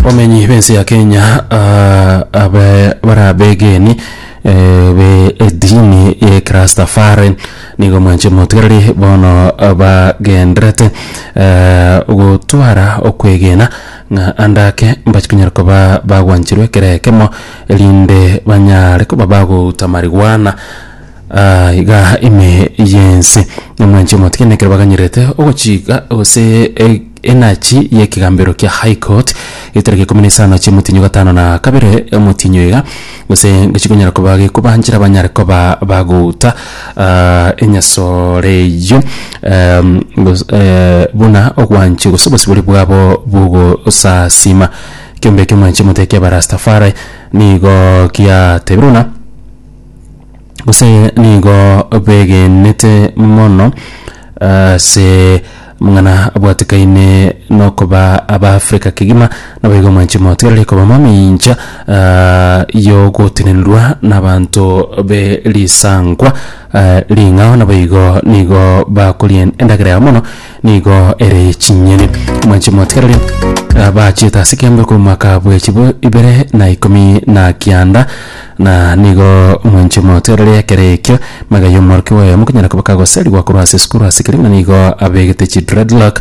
Abamenyi b'ense ya Kenya ah, abe barabegeni eh, be edini ye Kirastafari nigo mwanche motigereri bono bagenderete eh, gotwara okwegena ng'a ande ake mbachi konyara koba bagwancherwa ekero ekemo erinde banyare koba bagouta marijuana Ah, iga ime y'ense omwanchi omotigene ekero baganyerete ogochika gose e- enachi y'ekegambero kia high court etariki ikomi na isano chi'omotienyi o gatano na kabere omotienyi oyo iga gose ngechikonyara koba gekobanchera banyare koba bagouta ah, enyasore eyio em, gos- eh, buna ogwanchi gose obosibore bwabo bw'ogosasima. Ekeombe ekio omwanchi omote kia abarastafari nigo giatebire buna Gose nigo begenete mono ase amang'ana abwatekaine nokoba Abaafrika kegima, naboigo omwanchi motigareri koba mamincha yogotenenrwa nabanto be risankwa ring'ao, naboigo nigo bakoria endagera yabo mono nigo ere chinyeni. Omwanchi motigareri bachiete ase ekeombe korwa omwaka bwe chibu ibere na ikomi na kianda. Na nigo omwanchi omotereri ekero ekio, magega y'omworokigwa oyomo konyara koba kagoserigwa korwa ase esukuru ase keria ng'a nigo abegete chidreadlock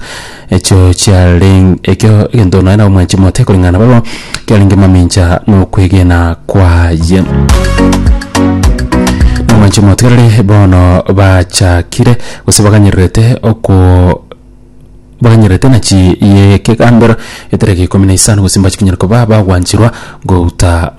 echio chiarenge ekio egento nonya na omwanchi omote koreng'ana nabarabwo kiarenge mamincha nokwegena kwaye. Nomwanchi omotigereri bono bachakire gose baganyererete oko baganyererete nachi y'ekegambero etariki ikomi na isano gose mbachi konyara koba bagwancherwa gouta.